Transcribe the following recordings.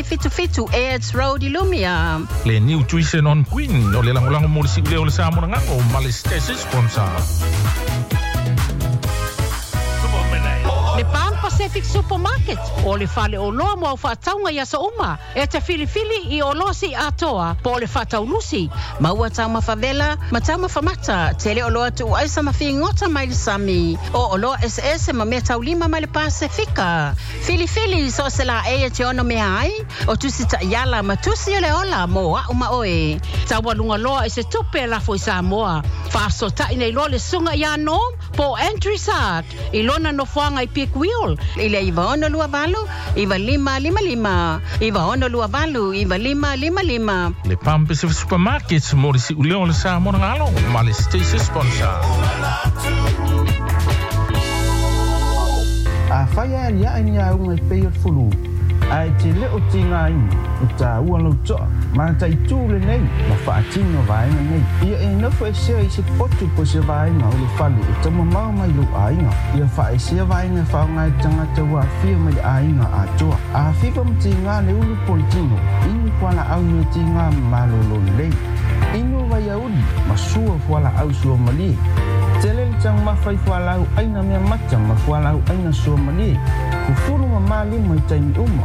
77 Airds Road i Lumia. Le Nutrition on Queen o le lagolago mo le siuleo o le Samoa Gagao ma le Station Sponsor. Le Pan Pacific Supermarket o le fale oloa mo au faatauga i aso uma e te filifili i oloa siiatoa po o le faataulusi. Maua taumafa vela ma taumafa mata, tele oloa tuu aisa ma figota mai le sami, o oloa eseese ma meataulima mai le Pasefika. Filifili so o se laei e te ono mea ai, o tusi taiala ma tusi o le ola mo a'u ma oe. Taualuga loa i se tupe lafo i Samoa. Faafesootai nei loa le susuga ia Norm po o Andrew Sard i lona nofoaga i Big Wheel i le 9628 9555, 9628 9555. Le Palm Pacific Supermarkets mo le siuleo o le Samoa Galo ma le Station Sponsor. Afai e aliae ni auga e pei o le fulu, ae e te le o tigaina, e taua lou toa, mataitu lenei ma faatino vaega nei. Ia e nofo esea i se potu po o se vaega o le fale e taumamao mai lou aiga. Ia faaesea vaega e faaaoga e tagata ua aafia mai le aiga atoa. A fiva ma tiga le ulu po o le tino, inu fualaau meatiga ma malolo lelei. Inu vaiauli ma sua fualaau suamalie. Tele le taumafa i fualaau aina mea mata ma fualaau aina suamalie. Fufulu ma malima i taimi uma.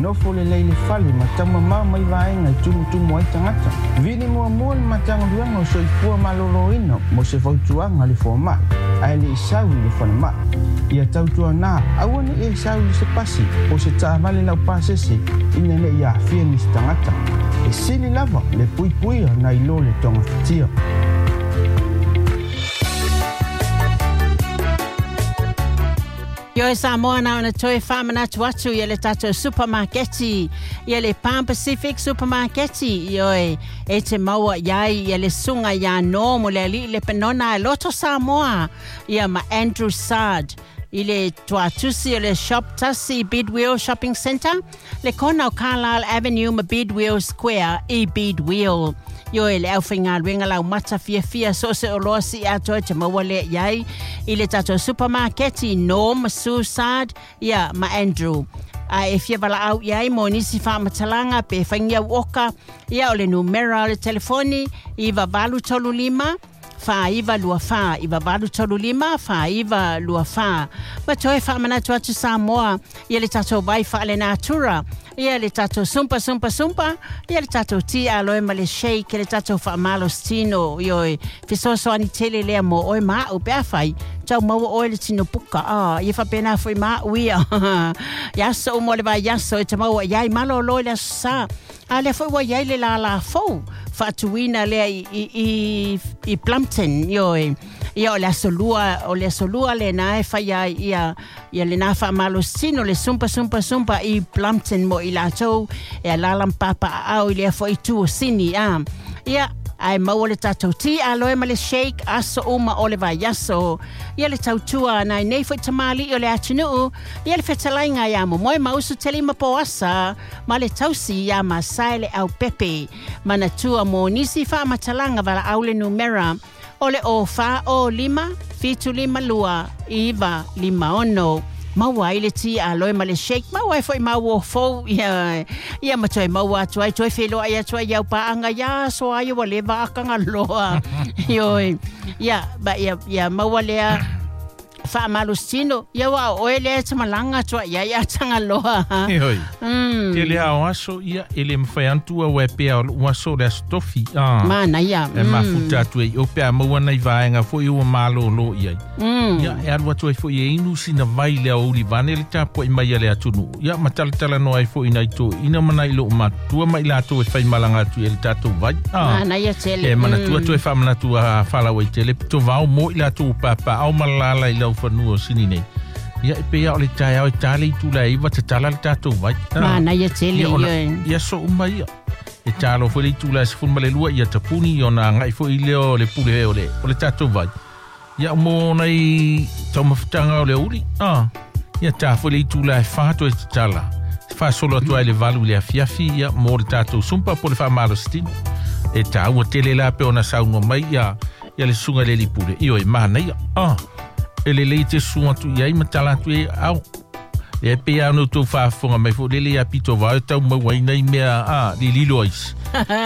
Nofo lelei le fale ma taumamao mai vaega e tumutumu ai tagata. Vili muamua le Matagaluega o Soifua Maloloina mo se fautuaga a le fomai, ae le i sau i le falemai. Ia tautuana, aua ne i e sau i se pasi po o se taavale laupasese ina ne i aafia nisi tagata. E sili lava le puipuia nai lo le togafitia. Ioe Samoa na ona toe faamanatu atu ia le tatou supamaketi, ia le Palm Pacific Supamaketi, ioe, e te maua i ai ia le susuga ia Norm o le alii Lepenona e loto Samoa, ia ma Andrew Sard i le tuatusi o le Shop Tasi Bidwill Shopping Centre, le kona o Carlisle Avenue ma Bidwill Square i Bidwill. Ioe, le aufaigaluega laumata fiafia so o se oloa sii atoa e te maua lea i ai i le tatou supamaketi Norm, Sue Sard, ia, ma Andrew. A e fia valaau i ai mo nisi faamatalaga pe faingi au oka, ia, o le numera o le telefoni, 9835 4924, 9835 4924. Ma toe faamanatu atu Samoa ia le tatou vai faalenatura, ia le tatou sumpa sumpa sumpa, ia le tatou ti aloe ma le shake, le tatou faamalositino, ioe, fesoasoani tele lea mo oe ma a'u pe afai tau maua oe le tino puka. Ah, ia faapena foi ma a'u ia. I aso uma o le vaiaso e te maua i ai malolo i le aso Sa. A lea foi ua i ai le lālā fou faatuina lea i, i, i, i Plumpton, ioe. Ia o le aso lua, o le aso lua lena e fai ai ia, ia lena faamalositino le sumpa sumpa sumpa i Plumpton mo i latou e alaala ma papaaao i lea foi itu o Sini. A, ia, ae maua le tatou ti aloe ma le shake aso uma o le vaiaso. Ia le tautua nai nei foi tamalii o le atunuu, ia le fetalaiga ia Momoe Mausu Telima Poasa ma le tausi ia Masae Leaupepe. Manatua mo nisi faamatalaga valaau le numera o le 0 4 0 5 7 5 2 9 5 6. Maua ai le ti aloe ma le shake, maua ai foi ma ua fou ia, ia ma toe maua atu ai, toe feiloai atu ai i au paaga ia aso ai ua leva akanga loa. Ioe, ia, ma ia, ia maua lea faamalositino, ia ua o oe lea e te malaga atu ai i ai Atagaloa. Ioe. Tele lava o aso, ia, e le mafai lava ona tuua aua e pei lava o lou aso o le aso tofi. Ah. Manaia. E mafuta atu ai i o pe a maua nai vaega foi ua malolo i ai. Ia, e alu atu ai foi e inu sina vai i le aoauli vaeane le tapuai mai a le atunuu. Ia, ma talatalanoa ai foi i nai toeaiina ma nai loomatutua ma i latou e faimalaga atu i ai le tatou vai. Ah. Manaia tele. E manatua toe faamanatu a faalauaitele pito vao mo i latou ua papaao ma lala i laufanua o Sini nei. Ia, e pei lava o le taeao e ta le itula e 9 tatala le tatou vai. Ah. Manaia tele, Ia, ona, ioe. ia aso uma ia. E talo foi le itula e 12 ia tapuni ona agai foi lea o le pule o le, o le tatou vai. Ia mo nai taumafataga o le aoauli. Ah. Ia ta foi le itula e 4 toe tatala. Faasolo atu ai le 8 i le afiafi ia mo le tatou sumpa po o le faamalositino. E taua tele la pe ona saunoa mai ia ia le susuga i le alii pule. Ioe, manaia. Ah. E lelei te susu atu i ai ma tala atu i ai au. Le pe ia no tau faafofoga mai foi lele ia pito vao tau maua ai nai mea a lililo ai.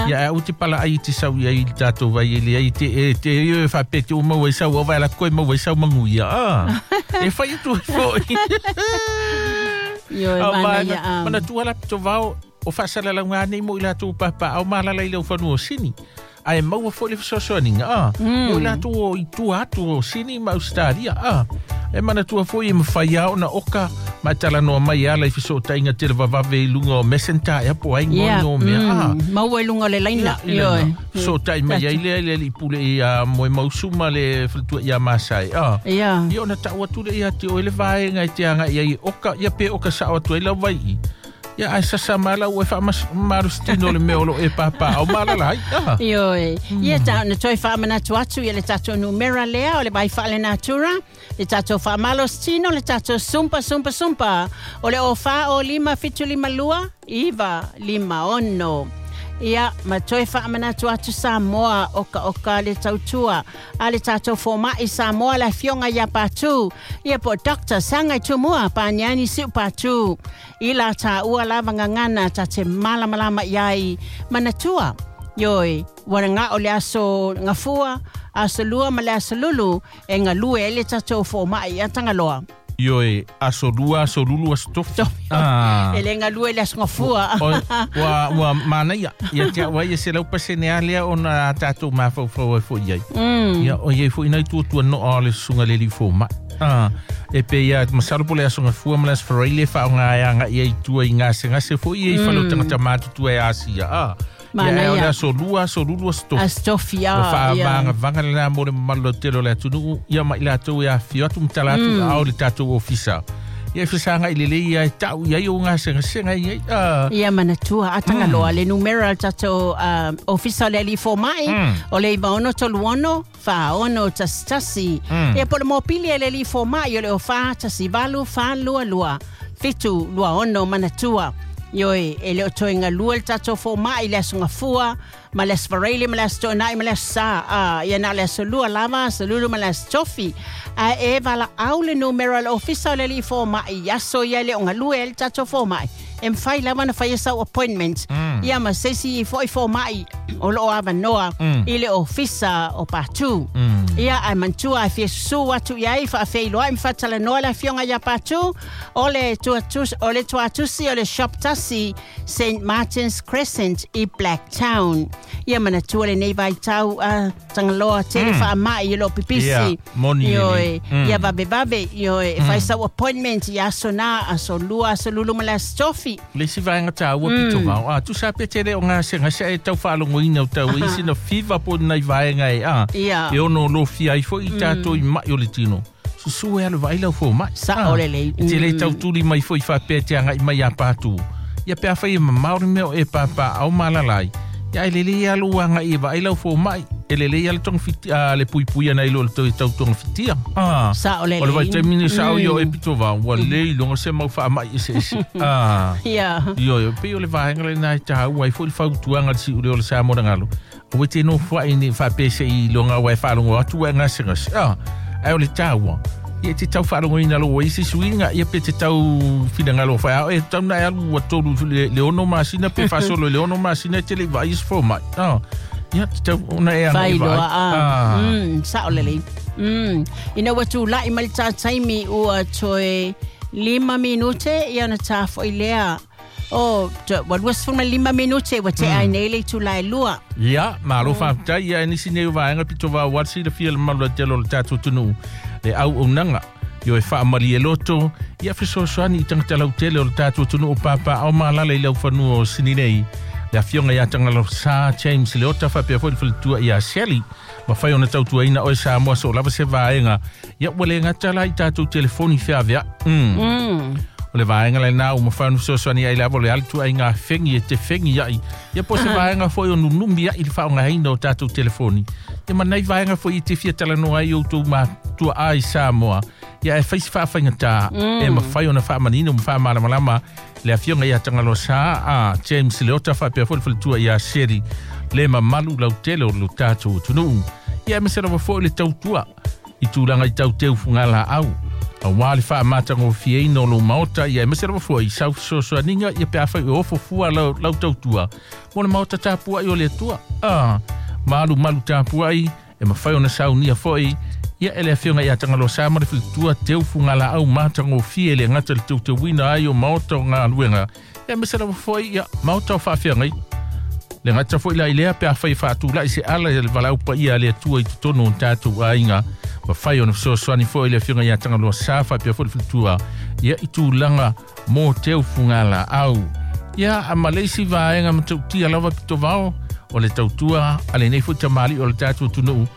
Ia au te pala ai te sau ia i le tatou vai e le ai te e te e faapea te o maua ai sau o vai la koe maua ai sau maguia a. E fai atu ai foi. Ioe, manaia a. Manatua la pito vao o faasalalauga nei mo i latou papaao malala i le aufanua o Sini. Ae maua foi le fesoasoaniga a. Mo i latou o i tua atu o Sini ma Australia a. E manatua foi e mafai lava ona oka ma e talanoa mai e ala i fesootaiga televavave i luga o Messenger ea po o ai Ia, ngoigo o mea a. maua i luga o le laina. Ia, i Ioe. laina. Fesootai mai ai lea i le alii pule ia Moemausu ma le faletua ia Masai a. Ia. Ia ona tau atu lea ia te oe le vaega e te agai ai e oka, ia pe oka sao atu ai lau vai i. Ia ae sasa ma lau e faamalositino le mea o loo e papaao malala ai a. Ioe. Ia ta na toe faamanatu atu ia le tatou numera lea o le vai faalenatura, le tatou faamalositino, le tatou sumpa sumpa sumpa. O le o fa o lima fitu lima lua, iva lima ono. Ia, ma toe faamanatu atu Samoa oka oka le tautua a le tatou fomai Samoa le afioga ia Patu. Ia po Dr. Sangai Tumua Paniani Siu Patu. I la taua lava gagana ta te malamalama iai manatua. Ioe, ua gao le aso gafua, aso lua ma le aso lulu, e galue ai le tatou fomai ia Tagaloa. Ioe, aso lua, aso lulu, aso tofi. Ah. E le galue le aso gafua. Ua, ua manaia. Ia te au ai e 100% a lea ona tatou mafaufau ai foi iai. Ia, o iai foi nai tuatua noa o le susuga le alii fomai. Ah, e pe ia masalo po le aso gafua ma le aso faraile whaonga ai anga ia i tua i ngasegase foi ia i fale o tagata matutua e Asia. Ah. Ia, o le Manaia. aso lua, aso lulu, aso tofi. Aso tofi, Ua ah, ia. faavagavaga lena mo le mamalu lautele o le atunuu, ia ma i latou e afifio atu ma tala atu ao le tatou ofisa. Ia e fesagai lelei ia e tau iai o gasegasega iai. Ah. Ia manatua a Tagaloa le numera o le tatou ofisa o le alii fomai o le iva ono tolu ono fa ono tasi tasi. Ia po le mopili e le alii fomai o le o fa tasi valu fa lua lua fitu lua ono manatua. Ioe, e le o toe galue le tatou fomai le aso gafua ma le aso faraile ma le aso toonai ma le aso sa. Ah, ia na o le aso lua lava, aso lulu ma le aso tofi. A e valaau le numera o le ofisa o le alii fomai i aso ia le o galue ai le tatou fomai. E mafai lava ona faia sau appointment. Ia ma se isi foi fomai o loo avanoa i le ofisa o Patu. Ia ae manatua ae fia susū atu iai faafeiloai ma faatalanoa le afioga ia Patu o le o le tuatusi o le shop tasi St. Martin's Crescent i Blacktown. Ia manatua lenei vaitau a Tagaloa tele faamai i loo pipisi. Ia, moni lenei. Ioe, ia vavevave, ioe, e fai sau appointment i aso na, aso lua, aso lulu ma le aso tofi. Le isi vaega taua pito vao. Ah, tusa pe tele o gasegase e tau faalogoina o tau isi na fiva po nai vaega e a. Ia. E ono lofia ai foi i tatou i mai o le tino. Susu e alu vaai lau fomai. Sao lelei. E te le tau tuli mai foi faapea te agai mai a Patu. Ia pe afai e mamao le mea o e papaao malala ai. Ia e lelei alu agai e vaai lau fomai. E lelei alu tonga le puipui ana i lo le toi tau tonga fitia. Ah. Sao lelei. O le vaitaimi ni sao i o e pito vao. Ua le iloga se mau faamai ese ese. Ah. Ia. Ioe, pei o le vaega lena e taua ai foi le fautuaga le si'u lea o le Samoa galo. Ua te nofo ai ni faapea se'i iloga ua e faalogo atu ua e gasegase. Ah. Ae o le taua. Ia te tau faalogoina lo ua isi suiga, ia pe te tau finagalo fai ao e tau na e alu ua tolu le ono masina pe faasolo i le ono masina e te le vaai isi fomai. Ah. Ia te tau ona e agai Fai vaai. loa a. Ah. Sao lelei. Ina ua tula'i ma le tataimi ua toe 5 minute ia ona tafo'i lea. O, ua 25 minute ua tea ai nei le itula e lua. Ia, malo faafetai ia e nisi nei o vaega pito vao ala silafia le mamalu lautele o le tatou atunuu. Le auaunaga io e faamalie e loto, ia fesoasoani i tagata lautele o le tatou atunuu papaao malala i le aufanua o Sini nei. Le afioga ia Tagalosa James Leota faapea foi le faletua ia Shelley. Mafai ona tautuaina oe Samoa so lava se vaega. Ia ua le gata la i tatou telefoni feavea'i. O le vaega lena ua mafai ona fesoasoani ai lava o le ale tuaiga fegi e te fegi ai. Ia po se vaega foi o nunumi ai i le faaaogaina o tatou telefoni. Ia ma nai vaega foi i te fia talanoa ai outou matua'a i Samoa. Ia e fai se faafaigatā e mafai ona faamanino ma faamalamalama le afioga ia Tagalosa a James Leota faapea foi le faletua ia Shelley le mamalu lautele o lo tatou atunuu. Ia e mase lava foi le tautua i tulaga i tauteu fugalaau. Auā le faamatagofieina o lou maota ia e mase lava foʻi sau fesoasoaniga ia pe afai o ofo fua lau tautua mo le maota tapuaʻi o le Atua a malumalu tapuaʻi e mafai ona saunia foʻi ia e le afioga ia Tagaloa Sa ma le faletua teufuga laau matagofie le gata le teuteuina ai o maota o galuega ia mase lava foʻi ia maota o faafeagai le gata foʻi la i lea pe afai faatulaʻi se ala le valaau paia a le Atua i totonu o tatou aiga mafai ona fesoasoani foʻi le afioga ia Tagaloa Sa faapea foʻi le faletua ia i tulaga mo teufuga laau ia a ma le isi vaega matautia lava pitovao o le tautua a lenei foʻi tamaliʻi o le tatou atunuu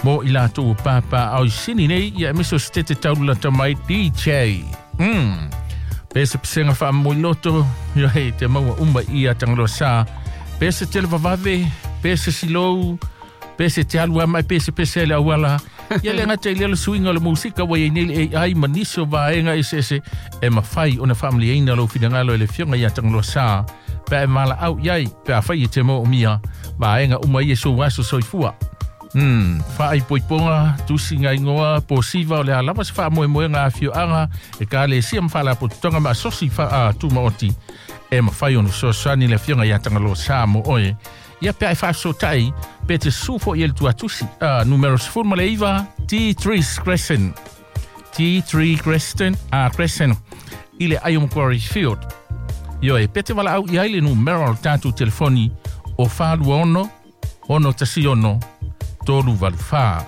mo i latou o pāpāʻao i sini nei ia e maise o se tete taulata mai DJ pe se pesega faamomoiloto ia e te maua uma i ia Tagaloa Sa pe se tele vavave pe se silou pe se te alu mai pe se pese le auala ia le gata i lea le suiga o le musika ua iai nei le AI ma nisi o vaega eseese e mafai ona faamalieina lou finagalo e le afioga ia Tagaloa Sa pe a e valaau i ai pe afai e te moomia vaega uma ia sou aso soifua. Faaipoipoga tusiga igoa posiva o le a lava se faamoemoega afioaga e kalesia ma faalapototoga ma asosi tumaoti e mafai ona fesoasoani le afioga ia Tagaloa Sa mo oe ia pe a e faasotai pe te su foʻi e le tuatusi numero 19 T3 Crescent T3 Crescent Crescent i le ai o Macquarie Field. Ioe, pe te valaau i ai le numero o le tatou telefoni o 426 616 384.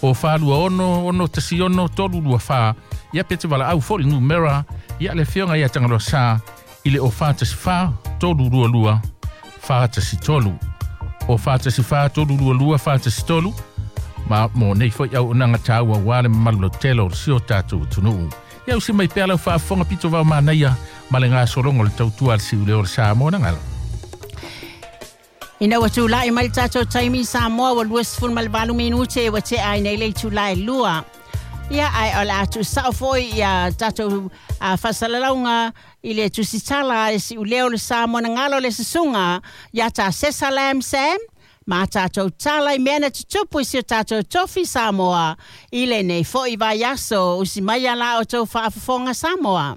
O 426 616 324. Ia pe te valaau foʻi le numera ia le afioga ia Tagaloa Sa i le o 414 322 413. O 414 322 413 ma mo nei foʻi auaunaga taua auā le mamalu lautele o le si o tatou atunuu. Ia usi mai pea lau faafofoga pito vao manaia ma le gasologa o le tautua a le siuleo o le Samoa na galo. Ina ua tulaʻi mai le tatou taimi i Samoa ua 28 minute ua tea ai nei le itula e 2. Ia ae o le a tuusao foʻi ia tatou faasalalauga i le tusitala e siuleo o le Samoa na galo le susuga ia tā Sesa Lam Sam ma tatou tala i mea na tutupu i si o tatou tofi Samoa i lenei foʻi vaiaso usi mai ia la outou faafofoga Samoa.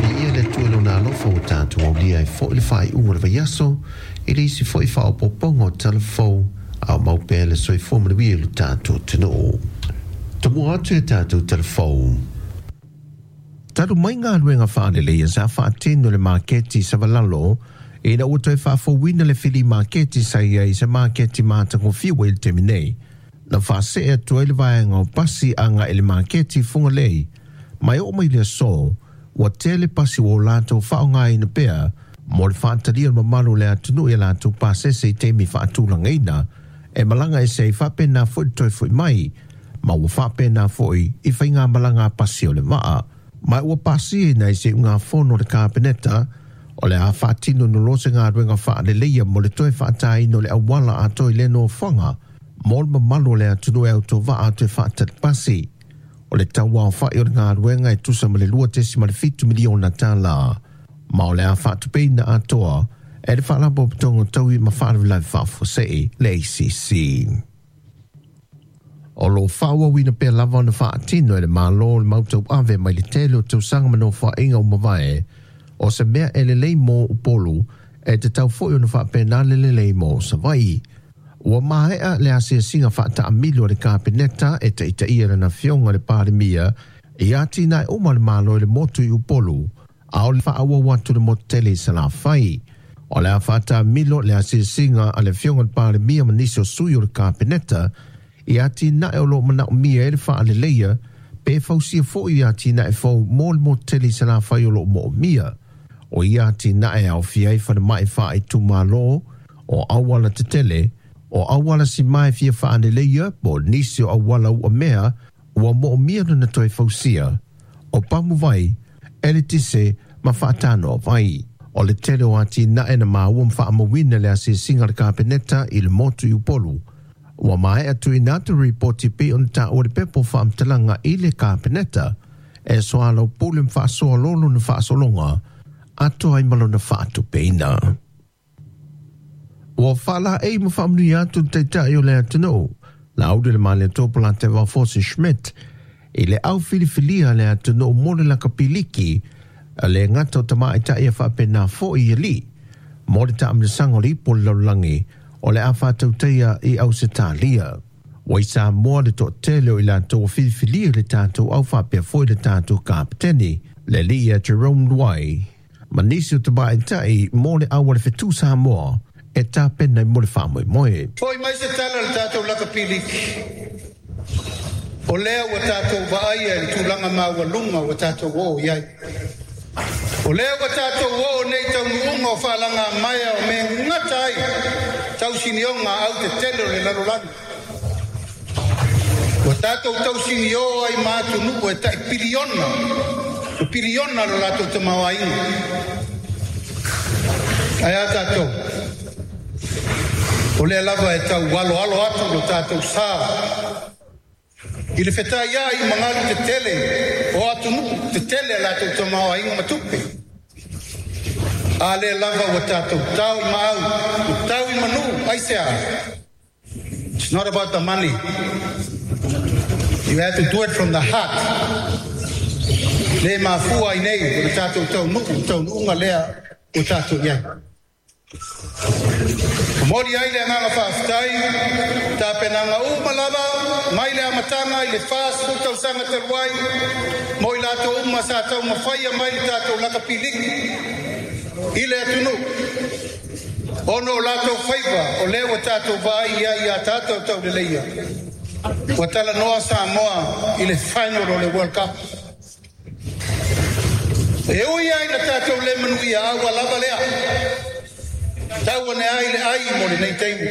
Viia le Atua i Lona alofa ua tatou aulia ai foʻi le faaiuga o le vaiaso i le isi foʻi faaopoopoga o tala fou a o mau pea le soifua manuia i lo tatou atunuu. Tomua atu i a tatou tala fou. Talu mai galuega faaleleia sa faatino i le maketi i Savalalo ina ua toe faafouina le fili maketi sa i ai i se maketi matagofie ua i le taimi nei. Na faasee atu ai le vaega o pasi agai i le maketi i Fugalei mai oo mai le aso ua tele pasi ua o latou faaaogaina pea mo le faatalia o le mamalu o le atunuu i a latou pasese i taimi faatulagaina e malaga ese ai faapena foi le toe foi mai ma ua faapena foi i faigamalaga a pasi o le vaa. Ma ua pasiaina i se ugafono o le Kapeneta o le a faatino no se galuega faaleleia mo le toe faataina o le auala atoa i le nofoaga mo le mamalu o le atunuu e autovaa atu e faatali pasi. O le tauaofaʻi o le galuega e tusa ma le $2.7 miliona tālā ma o le a faatupeina atoa e le Faalapotopotoga o Taui ma Faalavelave Faafuasei le ACC. O lo o faaauauina pea lava ona faatino e le Malo le mau tauave mai le tele o tausaga ma nofoaiga ua mavae, o se mea e lelei mo Upolu e tatau foʻi ona faapena le lelei mo Savaii. Ua maea le asiasiga faataamilo a le Kapeneta e taitaia lana afioga i le Palemia i atinae uma a le Malo i le motu i Upolu, a o le faaauau atu i le motu tele i Salafai. O le a faataamilo le asiasiga a le afioga i le Palemia ma nisi o sui o le Kapeneta i atinae o lo o manaomia ai le faaleleia pe fausia foʻi i atinae fou mo le motu tele i Salafai o lo o moomia. O ia atinae e aofia ai falemai faaitumalo, o auala tetele, o auala simā e fia faaleleia po o nisi o auala uamea ua moomia lona toe fausia, o pamu vai, eletise ma faatanoa vai. O le tele o atinae na maua ma faamauina i le asiasiga a le Kapeneta i le motu i Upolu, ua maea tuuina atu le ripoti pei ona taua i le pepa o faamatalaga i le Kapeneta e soalaupule ma faasoa loa lona faasologa atoa ai ma lona faatupeina. Ua faalaei ma faamanuia atu le Taitai o le atunuu, Laaulialemalietoa Polataivao Fosi Schmidt, i le au filifilia a le atunuu mo le lakapiliki a le gata o tamaitai e faapena foi i alii mo le taamilosaga o le ipu o le lalolagi o le a faatautaia i Ausetalia. Ua i Samoa le toatele o i latou ua filifilia le tatou au faapea foi le tatou kapeteni, le alii ia Jerome Luai, ma nisi o tamaitai mo le au a le Fetu Samoa e tapena mo le faamoemoe. Foi mai se tala i le tatou lakapiliki, o lea ua tatou vaaia i le tulaga maualuga ua tatou oo i ai. O lea ua tatou oo nei i taunuuga o faalagamaea o mea e gata ai tausinioga a au tetele o le lalolagi. Ua tatou tausinio ai ma atunuu e tai piliona ma piliona lo latou tamaoaiga. Ae a tatou? O lea lava e tau aloalo atu lo tatou sa i le fetaiai ma galu tetele o atunuu tetele a latou tamaoaiga ma tupe. A lea lava ua tatou tao i maau, ua tau i manu, aisea? It's not about the money. You have to do it from the heart. Le mafua ai nei o le tatou taunuu, taunuuga lea ua tatou i ai. Momoli ai le agaga faafetai, tapenaga uma lava mai le amataga i le 40 tausaga talu ai, mo i latou uma sa taumafaia mai le tatou lakapiliki i le atunuu, ona o latou faiva o lea ua tatou vaai i ai ia tatou tauleleia. Ua talanoa Samoa i le final o le World Cup. E ui ai na tatou le manuia, a ua lava lea. Tau ane ai le ai mo lenei taimi.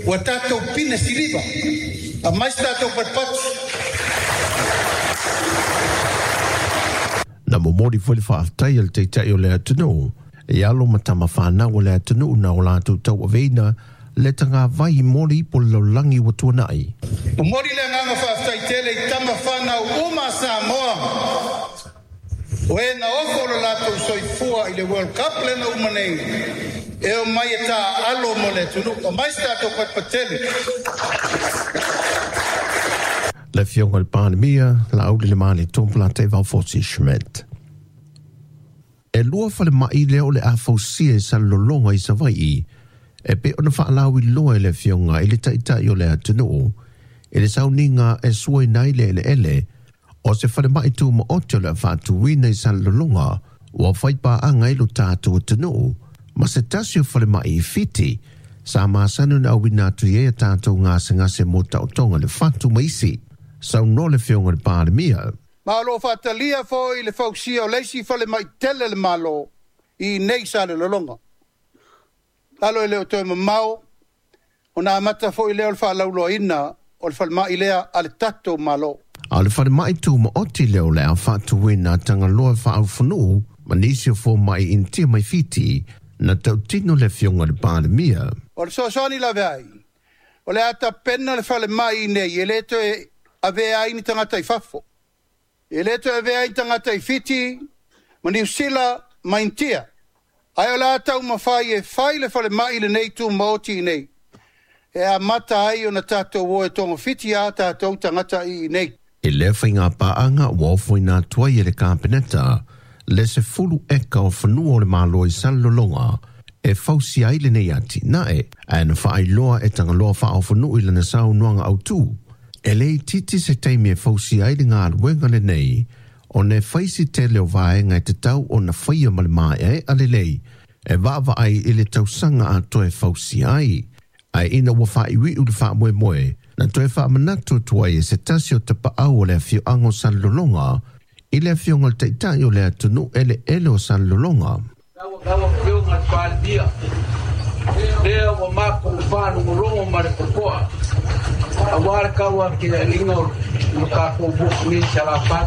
Ua tatou pine siliva, aumai se tatou patupatu. Na momoli foi le faafetai a le Taitai o le atunuu i alo ma tama fanau o le atunuu na o latou tauaveina le tagavai mo le ipu o le lalolagi ua tuanai. Momoli le agaga faafetai tele i tama fanau uma a Samoa o e na ofo lo latou soifua i le World Cup lea na uma nei, e omai e taaalo mo le atunuu, aumai se tatou patupatele. Le Afioga i le Palemia, Laaulialemalietoa Polataivao Fosi Schmidt. E lua falemai lea o le a fausia i Salelologa i Savaii, e pei ona faalauiloa e le Afioga i le Taitai o le atunuu i le sauniga e suaina ai le eleele o se falemai tumaoti o le a faatuina i Salelologa ua fai paaga ai lo tatou atunuu ma se tasi o falemai i Fiti sa masani ona auina atu i ai a tatou gasegase mo taotoga le fatu ma isi, saunoa le Afioga i le Palemia. Ma o lo o faatalia foi le fausia o le isi falemai tele a le Malo i inei Salelologa. Lalo e le o toe mamao, ona amata foi lea o le faalauloaina o le falemai lea a le tatou Malo. A o le falemai tumaoti lea o le a faatuina a Tagaloa Faaufanuu ma nisi o fomai Initia mai Fiti, na tautino le Afioga i le Palemia. O le fesoasoani laveai, o le a tapena le falemai i inei e le toe avea ai ni tagata i fafo. E le toe avea ai ni tagata i Fiti ma Niu Sila ma Initia, ae o le a taumafai e fai le falemai lenei tumaoti i inei, e amata ai ona tatou o e togafiti a tatou tagata i inei. I lea faiga paaga ua ofoina atu ai e le Kapeneta le 10 eka o fanua o le Malo i Salelologa e fausia ai lenei atinae, ae na faailoa e Tagaloa Faaofonuu i lana saunoaga autu, e le itiiti se taimi e fausia ai le galuega lenei, ona e fai si tele o vaega e tatau ona faia ma le maeaea lelei e vaavaai i le tausaga atoa e fausia ai. Ae ina ua faaiuiu le faamoemoe, na toe faamanatu atu ai e se tasi o tapaau o le afioaga o Salelologa i le afioga i le Taitai o le atunuu eleele o Salelologa. Lau Afioga i le Palemia, lea ua matou faalogologo ma le totoa aua le tauatiaeina o le tatou motu nei i Salafai.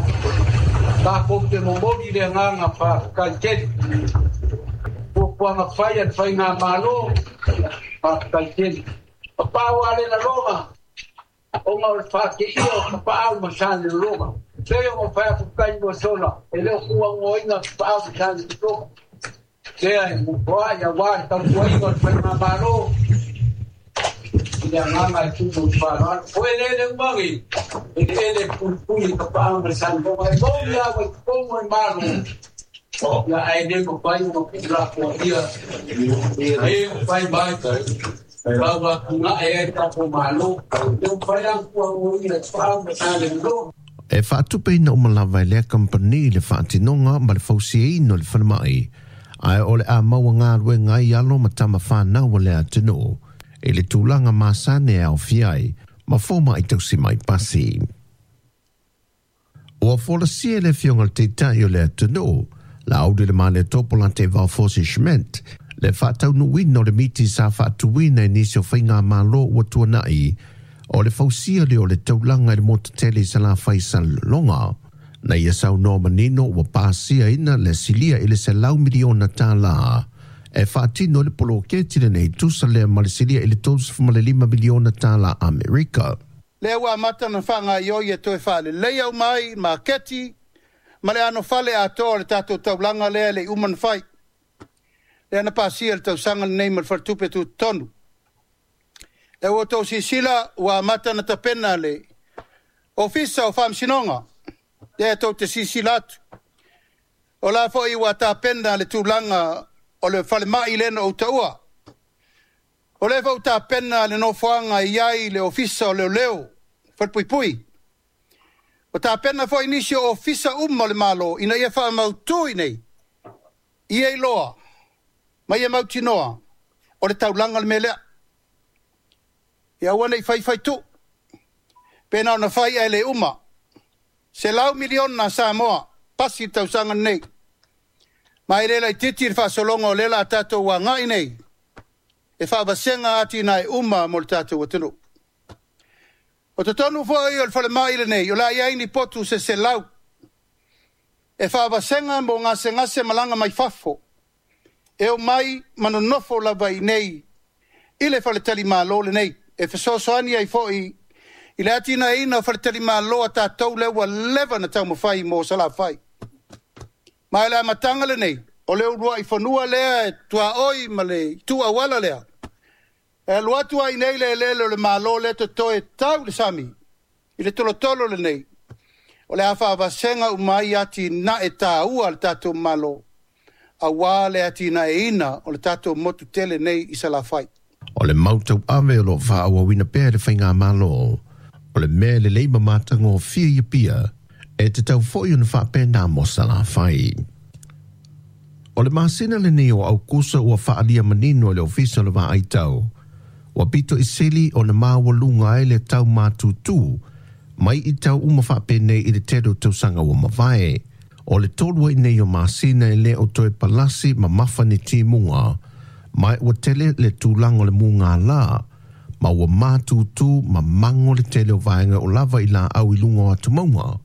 Tatou te momoli le agaga faafetai tele. Fuafuaga fai a le Faigamalo, faafetai tele. Papau a le lalona, ona o le faateia o tapaau ma Salelologa. Pei ona fai atu taimi ua sola, e le o tuuaunoaina tapaau ma Salelologa. Lea e mutuai aua le tautuaina o le Faigamalo, I le agaga e tumu i le faaaloalo. O eleele uma nei, eleele e puipui i ka paʻaga ma le salimoga e moni lava i totonu o le Malo, ia ae le mafai ona tuulafoaia e le mafai mai tau atinae ai le tatou Malo. E mafai la ona tuuagoina i paʻaga ma salimoga. E faatupeina uma lava e lea kamupani le faatinoga ma le fausiaina o le falemai, ae o le a maua galuega ai alo ma tama fanau a le atunuu i le tulaga masani e aofia ai ma fomai tausi mai pasi. Ua folasia e le Afioga i le Taitai o le atunuu, Laaulialemalietoa Polataivao Fosi Schmidt, le faataunuuina o le miti sa faatuina e nisi o faigamalo ua tuanai o le fausia lea o le taulaga i le motu tele i Salafai Salelologa. Na ia saunoa manino ua pasiaina le silia i le $100 miliona e faatino le poloketi lenei tusa lea ma le silia i le $35 miliona Amerika. Lea ua amata ona faagaoioi e toe faaleleia uma ai maketi ma le anofale atoa o le tatou taulaga lea e le i uma ona fai. Lea na pasia i le tausaga lenei ma le faletupe tutotonu. E ua outou silasila ua amata ona tapena le Ofisa o Faamasinoga, lea tou te silasila atu. O la foi ua tapena le tulaga o le falemai lea na ou taua. O lea foi ua tapena le nofoaga e i ai le Ofisa o Leoleo, Falepuipui. Ua tapena foi nisi o ofisa uma o le Malo ina ia faamautu i nei, ia iloa ma ia mautinoa o le taulaga le mea lea. Ia aua ne i faifai tuu, pe na ona fai ae le uma. $100 miliona Samoa, pasi le tausaga lenei. Ma e le laitiiti le faasologa o lea la tatou agai nei, e faavasega atinae uma mo le tatou atunuu. O totonu foi o le falemai lenei, o le a i ai ni potu se 100, e faavasega mo gasegase malaga mai fafo, e omai ma nonofo lava i nei i le faletalimalo lenei, e fesoasoani ai foi i le atinaeina o faletalimalo a tatou lea ua leva na taumafai mo Salafai. Ma i le amataga lenei, o le uluai fanua lea e tuaoi ma le itu auala lea, e alu atu ai nei le eleele o le Malo lea totoe tau le sami i le tolotolo lenei, o le a faavasega uma ai atinae taua a le tatou Malo, aua le atinaeina o le tatou motu tele nei i Salafai. O le mau tauave o lo o faaauauina pea e le faigamalo, o le mea lelei ma matagofie i Apia, e tatau foi ona faapena mo Salafai. O le masina lenei o Aukuso ua faaalia manino e le Ofisa o le Vaai Tau, ua pito i sili ona maualuga ai le tau matutu mai i tau uma faapenei i le tele o tausaga ua mavae. O le 3 ai nei o masina e le o toe palasi ma mafa ni timuga, ma ua tele le tulaga o le mugala, ma ua matutu ma mango le tele o vaega o lava i laau i luga o atumauga.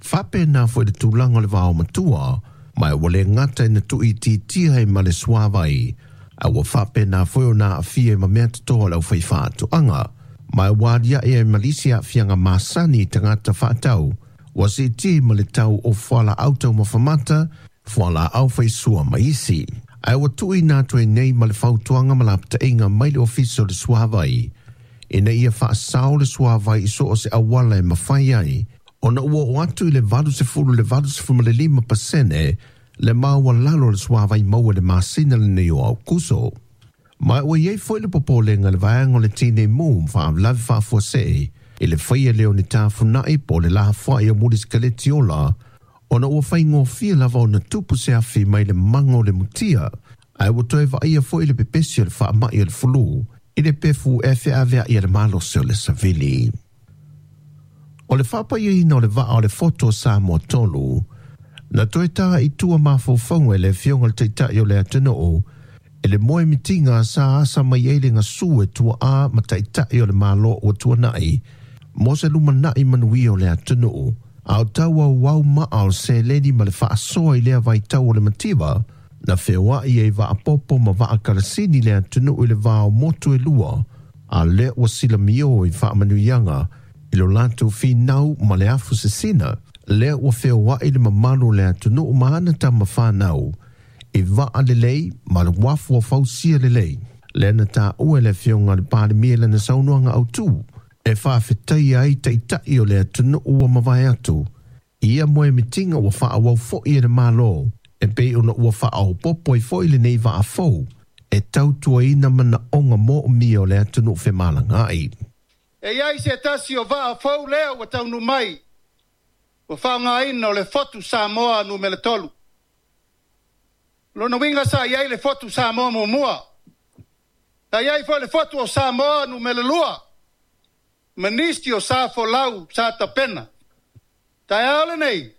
Faapena foi le tulaga o le vao matua, ma ua le gata ina tuuitiitia ai ma le suavai, a ua faapena foi ona aafia i ma mea totoa o le aufaifaatoaga, ma ua aliae ai ma nisi aafiaga masani i tagata faatau, ua siitia ma le tau o fualaau taumafa mata, fualaau faisua ma isi. Ae ua tuuina atu ai nei ma le fautuaga ma lapataiga mai le Ofisa o le Suavai, ina ia faasao le suavai i so o se auala e mafai ai, ona ua oo atu i le 80 i le 85% le maualalo o le suavai maua i le masina lenei o Aukuso. Ma ua i ai foi le popolega i le vaega o le Tinei Mu ma faalavelave faafuasei i le faia lea o ni tafunai po o le lafoai o mulisikaleti ola, ona ua faigofie lava ona tupu se afi mai le mago o le mutia, ae ua toe vaaia foi le pepesi o le faamai o le fulu i le pefu e feaveai a le malosi o le savili. O le faapaiaina o le vaa o le Foto Samoa 3, na toe tā i tua mafaufauga e le Afioga i le Taitai o le atunuu i le moemitiga sa asa mai ai le gasu e tuaa ma taitai o le Malo ua tuanai mo se lumanai manuia o le atunuu, a o tau auau maa o le seleni ma le faasoa i lea vaitau o le mativa, na feoai ai vaapopo ma vaakalasini le atunuu i le va o motu e lua, a lea ua silamio i faamanuiaga i lo latou finau ma le afu sesina, lea ua feoai le mamalu o le atunuu ma ana tama fanau i vaa lelei ma le uafu ua fausia lelei. Lea na tāua le afioga i le Palemia i lana saunoaga autū e faafetaia ai taʻitaʻi o le atunuu ua mavae atu i ia moemitiga ua faaauau foʻi e le Mālō e pei ona ua faaopoopo ai foʻi lenei vaafou e tautuaina manaʻoga moomia o le atunuu femalagaai. E iai se tasi o vaa fou lea ua taunu mai, ua faaaogaina o le Fotu Samoa numera 3. Lona uiga sa iai le Fotu Samoa muamua, sa iai foi le Fotu o Samoa numera 2, ma nisi o sa folau sa tapena. Taeao lenei,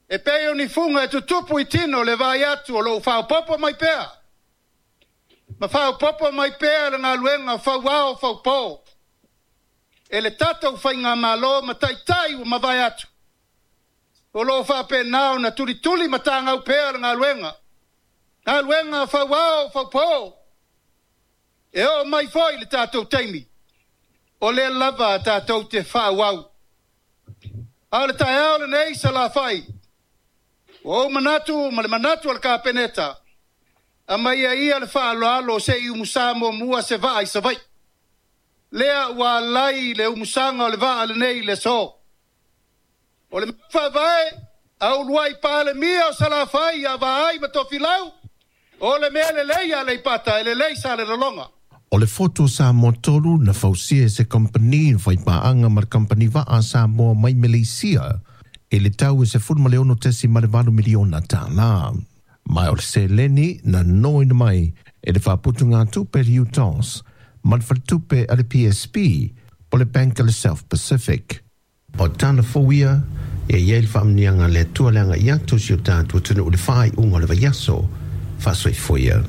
e pei o ni fuga e tutupu i tino le vaai atu o lou faaopoopo mai pea, ma faaopoopo mai pea le galuega fauao faupō e le tatou faigamālō ma taitai ua mavae atu. O loo faapena ona tulituli ma tagau pea le galuega, galuega fauao faupō e oo mai foi le tatou taimi, o lea lava tatou te faaauau. A o le taeao lenei Salafai, ua ou manatu ma le manatu o le Kapeneta, amaia ia le faaaloalo se i umusā muamua se vaa i Savaii. Lea ua alai le umusaga o le vaa lenei i le aso. O le faavae a uluai Palemia o Salafai ia Vaai ma Tofilau, o le mea lelei a Aleipata e lelei Salelologa. O le Fotu Samoa 3 na fausia e se kamupani na faipaaga ma le kamupani vaa Samoa mai Meleisia i le tau e $16.8 miliona tālā. Ma o le seleni na nonoina mai e le faaputugātupe le UTOS ma le faletupe a le PSP po le Bank a le South Pacific. O tala fou ia, e i ai le faamanuiaga a le Atua le agai atu o si o tatou atunuu i le faaiuga o le vaiaso. Faasoifua ia.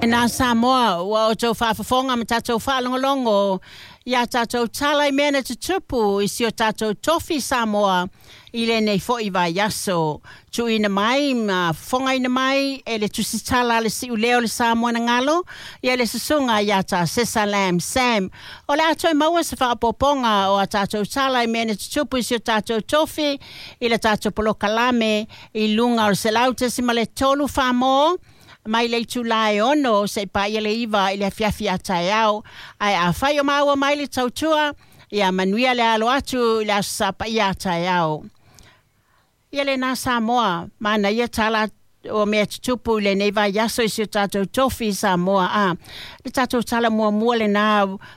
Nā Samoa, ua outou faafofoga ma tatou faalogologo iā tatou tala i mea na tutupu i si o tatou tofi Samoa i lenei foʻi vaiaso. Tuuina mai ma fofogaina mai e le tusitala a le siuleo o le Samoa na galo ia le susuga iā Tasesa Lam Sam. O le a toe maua se faaopoopoga o a tatou tala i mea na tutupu i si o tatou tofi i le tatou polokalame i luga o le 100.3 Samoa mai le itulā e 6 seʻi paia le 9 i le afiafi a taeao. Ae afai o maua mai le tautua, ia manuia le alo atu i le aso Sa paia a taeao. Ia lenā Samoa, manaia tala o mea tutupu i lenei vaiaso i si o tatou tofi i Samoa. A, le tatou tala muamua lenā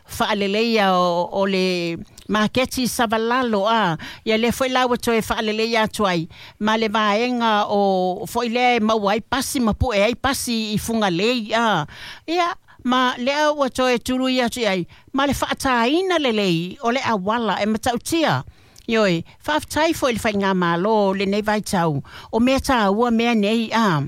faaleleia o le maketi i Savalalo. A, ia lea foi la ua toe faaleleia atu ai ma le vaega o foi lea e maua ai pasi ma pue ai pasi i Fugalei. A, ia ma lea ua toe tului atu i ai ma le faatāina lelei o le auala e matautia. Ioe, faafetai foi i le faigamālō lenei vaitau o mea tāua mea nei. A,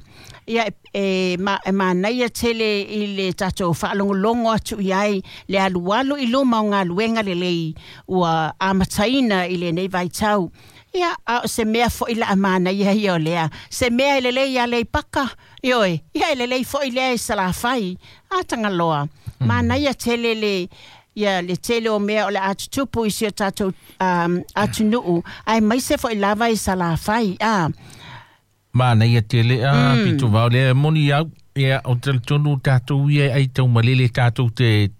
ia e manaia tele i le tatou faalogologo atu i ai le alualu i luma o galuega lelei ua amataina i lenei vaitau. Ia, a o se mea foi la manaia ia o lea, se mea e lelei ia Aleipaka, ioe, ia e lelei foi lea i Salafai, a Tagaloa. Manaia tele le ia le tele o mea o le a tutupu i si o tatou atunuu, aemaise foi lava i Salafai. A. Manaia tele a pito vao lea moni au, ia o talitonu tatou ia ai tau malele tatou te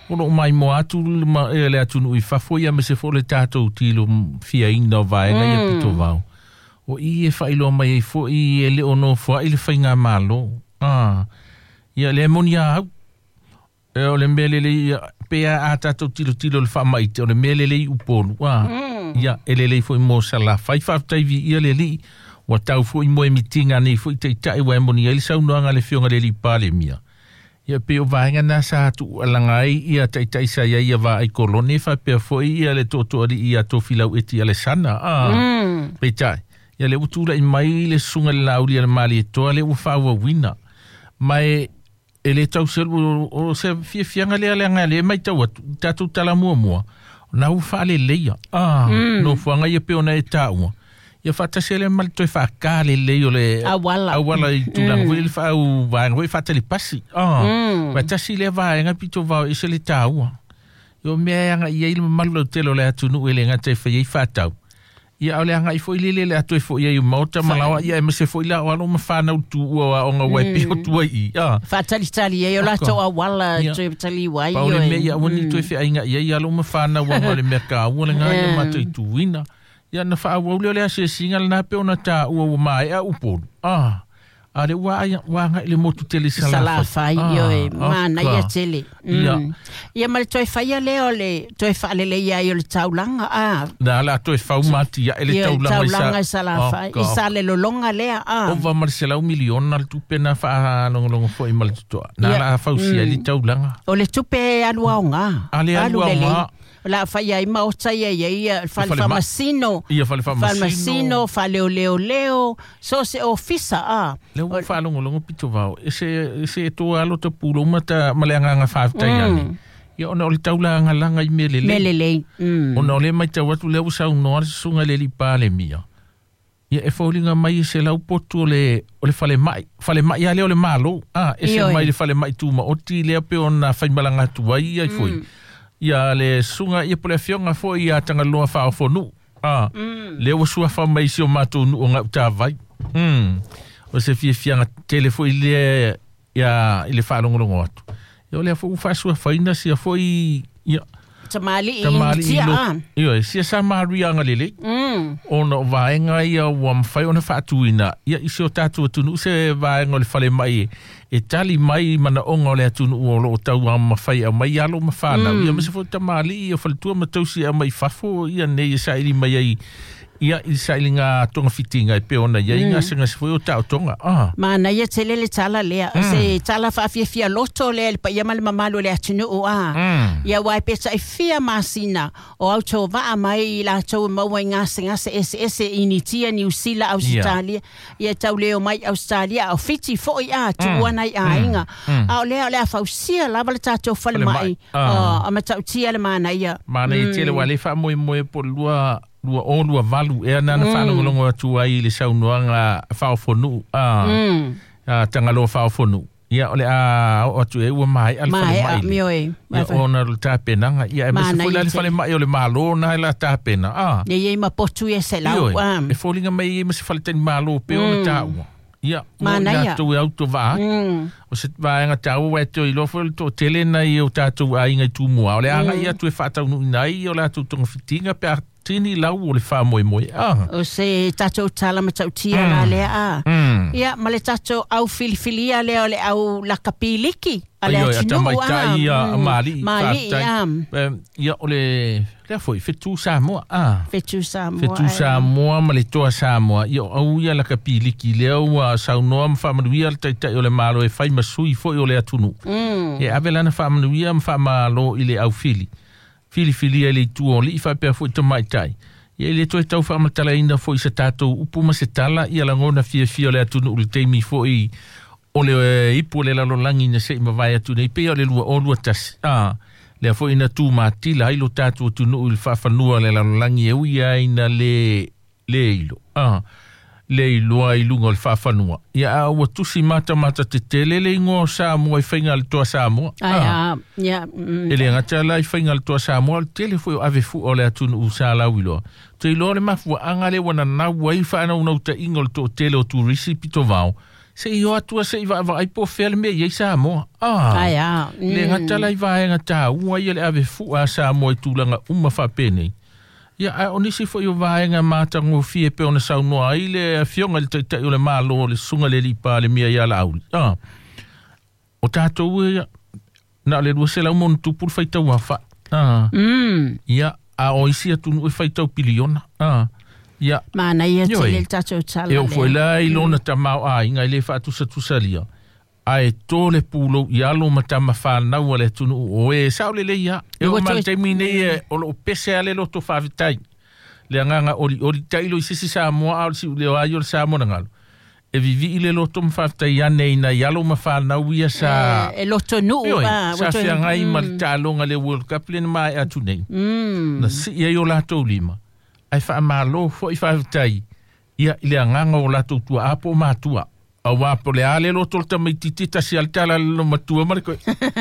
o loo mai moa atu le atunuu i fafo ia me se fo le tatou tilo fiaina o vaega ia pito vao. O i e faailoa mai ai foi e le o nofoaʻi le faigamālō. A, ia le moni a au. E o le mea lelei ia, pe a tatou tilotilo le faamaite, o le mea lelei Upolu. A, ia e lelei foi mo Salafai. Faafetai viia le Alii, ua tau foi mo e mitinga nei foi taʻitaʻi ua e moni ai le saunoaga a le afioga i le Alii Palemia. Ia pe o vaega na sa tuualaga ai ia taʻitaʻi sa iai ia vaai kolone faapea foi ia le toatoalii ia Tofilau Eti Alesana. A, peitai, ia le ua tulaʻi mai le susuga i le Laauli a le Malietoa le ua faaauauina. Ma e le tau selu o se fiafiaga lea leaga le matau atu tatou tala muamua na ua faaleleia. A, nofoaga ia pe ona e taua. Ia faatasi ai lea ma le toe faakalelei o le Auala. auala i tulaga foi le faau vaega foi faatali pasi. A, ma tasi lea vaega pito vao ese le taua. Yo mea anga i ai le mamalu lautele o le atunuu e le gata e fai ai faatau. Ia o le agai foi lele le atu e foi ai i maota ma laoa ia e mase foi la o alo ma whanau tu ua wa onga wai pio tua i. Whaatalitali ai o lato awala toe tali wai. Pa o le mea ia wani toe whiainga ia i alo ma whanau wa le mea ka ua le ngā ia mātou i tuina. Ia na wha au le ase singa le nape o na tā ua ua mae a upolu. A le ua ngai le motu tele Salafai. Salafai, mana ia tele. Ia ma le toe whaia leo le toe whaalele ia i o le taulanga. Na la toe whaumati ia ele taulanga i taulanga i Salafai. I sa le lolonga lea. Ova ma le 100 miliona le tupe na whaalongolongo fo i ma le tutoa. Na la whausia i le taulanga. O le tupe alu aonga. Ale alu aonga. La whaia i maota ia ia whalefamasino. Ia whalefamasino. Whaleoleoleo. So se ofisa. Le ua whaalongolongo pito vao. E se tō alo ta pūlo mata maleanganga whaaftai ani. Ia ona o le taulanga langa i melelei. Melelei. Ona o le mai tau atu lea usau noa le sunga le lipa le mia. Ia e faulinga mai se lau potu o le whale mai. Whale mai ale o le malo. E se mai le whale mai tūma oti lea pe ona whaimalanga tuai ia i foi. Ia le sunga ia pole fionga fo ia Tangaloa whaofonu. Le ua sua wha mai si o mātou nu o ngau tāwai. O se fia fianga tele fo i le ia i le whaalongolongo atu. Ia o lea fo uwhasua whaina sia fo i ia Tamali i tia. Ia sia sa maria anga lele. Ona o vaenga ia ua mwhai ona whaatuina. Ia isi o tātou atunu se vaenga o le whale mai e tali mai mana onga o le atunu o lo o tau a mawhai a mai alo ma whanau. Ia mese fo tamali ia whaletua matausi a mai fafo ia nei e saili mai ai ia i saili ngā tonga whitinga e peona ia i ngā senga se foi o tau tonga. Mana ia tele le tala lea. Se tala whaafiafia loto lea le pa ia male mamalu le atunu o Ia wai pesa e fia masina o auto waa mai i latou maua i ngā senga se ese ese Initia, New Zealand, Australia. Ia tau leo mai Australia o Fiti foi tuana i ainga. A o lea o lea fausia lava le tātou whale mai. A matautia le mana ia. Mana ia tele wale wha moe moe po lua lua o lua valu e ana na whaalongolongo atu ai le saunoanga whaofonu Tangaloa whaofonu. Ia ole a o atu e ua mai al whale mai. Mai ia ona le tāpenanga. Ia e mese foi la le whale mai o le malo na la tāpena. Ia ia ma potu e se lau. E fōlinga mai e mese whale tani malo pe ona tāua. Ia, mo ia tau e auto vaa. O se vaenga tāua wai tō i lofo le tō tele na i o tātou a inga i tūmua. O le anga ia tu e whaataunu inai o le atu tonga whitinga pe a tini lau o le wha moe moe. O se tātou tala ma tau tia la lea. Ia, ma le tātou au filifilia lea o le au lakapiliki. A le atunuu. Tamaitai ia Mali. Mali, ia o le lea foi, Fetu Samoa. Fetu Samoa. Fetu Samoa ma le toa Samoa. Ia au ia lakapiliki lea ua saunoa ma whaamanuia le taitai o le malo e whai masui foi o le atunuu. Ia ave lana whaamanuia ma whaamalo i le au fili. Fili le itu o li whapea foi tamaitai. Ia le toe tau whaamatalaina foi se tātou upu ma se tala ia langona fia fia o le atunu le teimi foi o le ipu le lalolangi na se i mawai atu nei pea o le lua o lua tasi. Lea foi ina tū mātila ai lo tātou atunu i le whawhanua le lalolangi e ui ai na le ilo. Le iloa i lunga o le whawhanua. Ia a ua tusi mata mata te tele le ingoa o Samoa i whainga le toa Samoa. E le ngata la i whainga le toa Samoa, le tele foi o ave fu o le atunu u sa lau iloa. Te iloa le mafua anga le wana nau ai whaana una uta ingo le toa tele o turisi pito vao. Se i o atua se i va ai po fea le mea i Samoa. Le ngata la i vaenga tā ua ia le ave fu a Samoa i tūlanga uma whapenei. Ia, a o nisi foi o vaenga mātango fie pe ona saunoa ai le fionga le taitai o le malo le sunga le lipa le mea ia la auli. O tātou e, na le 200 monu tupu le whaitau a wha. Ia, a o isi atunu e whaitau piliona. Ia. Mana ia te le tātou tala. E o foi la i lona tamau a inga i le whaatusa-tusalia. A e tō le pūlou i alo ma tama whānau a le atunu o e sao le leia. E o ma taimi nei e o lo pese ale loto whaavitai. Le anganga ori ori tailo i sisi Samoa a o le siu leo ai o le Samoa na ngalo. E vivi i le loto ma whaavitai ane ina i alo ma whānau ia sa... E loto nuu. Sa whiangai ma le tālonga le World Cup le na mai atu nei. Na si ia i o lātou lima. Ai whaamalo fo i whaavitai. Ia i le anganga o lātou tua apo mātua. Auā po le a le loto o le tamaitiiti e tasi lava le tala a le loomatua ma le koe.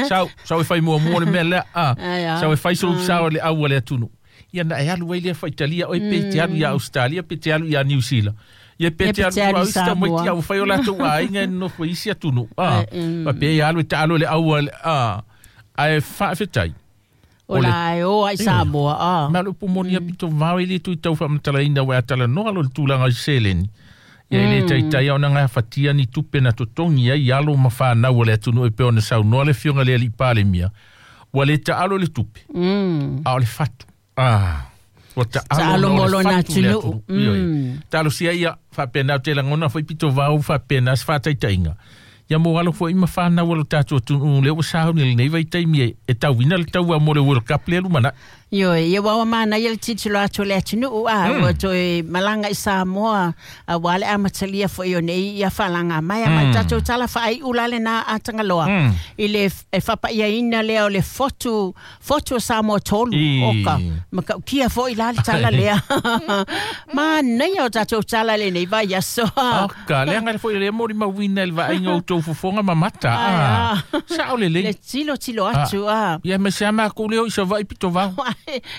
Sau, sau e fai muamua le mea lea, a. Sau e fai sou sao i le au a le atunuu. Ia ona e alu ai lea faitalia oe pe e te alu ia Ausetalia pe te alu ia Niu Sila. Ia pe te alu aua o isi tamaiti a ua fai o latou aiga e nonofo i isi atunuu, a. Faapea ia alu e taalo i le au a le, a. Ae faafetai. O la e o ai Samoa, a. Ma o le upu moni a pito vao e le toe tau faamatalaina ua e talanoa loa i le tulaga i seleni. Ia e le taitai ona gafatia ni tupe na totogi ai alo ma fanau a le atunuu e pei ona saunoa le Afioga i le Alii Palemia, ua le taalo i le tupe, a o le fatu. Ua taalo mo lona atunuu. Talosia ia faapena ou te lagona foi pito vao faapena se faataitaiga. Ia mo alo foi ma fanau a lo tatou atunuu lea ua sauni i lenei vaitaimi e tauina le taua mo le World Cup lea lumanai. Ioe, ia ua manaia le tilotilo atu o le atunuu, a ua toe malaga i Samoa, aua le amatalia foi o nei ia faalagamaea ma le tatou tala faaiu la lena a Tagaloa i le e faapaiaina lea o le fotu fotu o Samoa tolu oka matautia foi la le tala lea. Manaia o tatou tala i lenei vaiaso. Oka, leaga le foi o lea molimauina i le vaaiga o outou fofoga ma mata. Sao lelei. Le tilotilo atu, a. Ia, aemaise lava makou lea o i Savaii pito vao.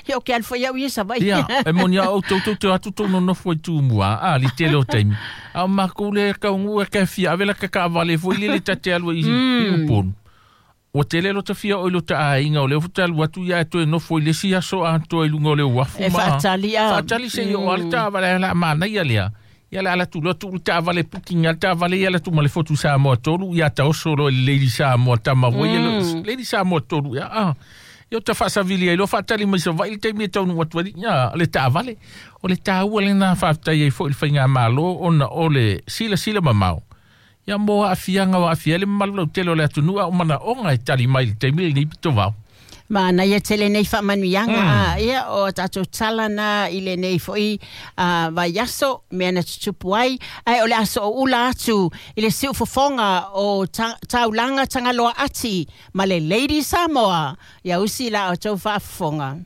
Ia, o ke alu foi au i Savaii. Ia, e moni lava outou tou te o atu tou nonofo i Tumua, a, le tele o taimi. A o makou lea e taunuu e ka fia ave lata taavale foi lele ta te alu ai i Upolu. Ua tele lota fia oo i lota aiga o lea faatoa alu atu ia ae toe nofo i le isi aso atoa i luga o le uafu E ma faatali a. Faatali se i oo lava le taavale ae o le a manaia lea. Ia le a alu atu loa tuu le taavale booking lava le taavale ia alu atu ma le Fotu Samoa 3 ia taoso loa i le Lady Samoa tama foi ia Lady Samoa 3 ia a. Ia ota faasavili ai loa faatali mai Savaii le taimi e taunuu atu ai ia le taavale. O le taua lena faafetai ai foi i le faigamalo ona o le silasila mamao Ia mo aafiaga o aafia ai le mamalu lautele o le atunuu a o manaoga e tali mai i le taimi lenei pito vao. Manaia tele nei faamanuiaga a ia o a tatou tala na i lenei foi vaiaso mea na tutupu ai ae o le a sooula atu i le siufofoga o Taulaga Tagaloa Ati ma le Lady Samoa. Ia usi la outou faafofoga.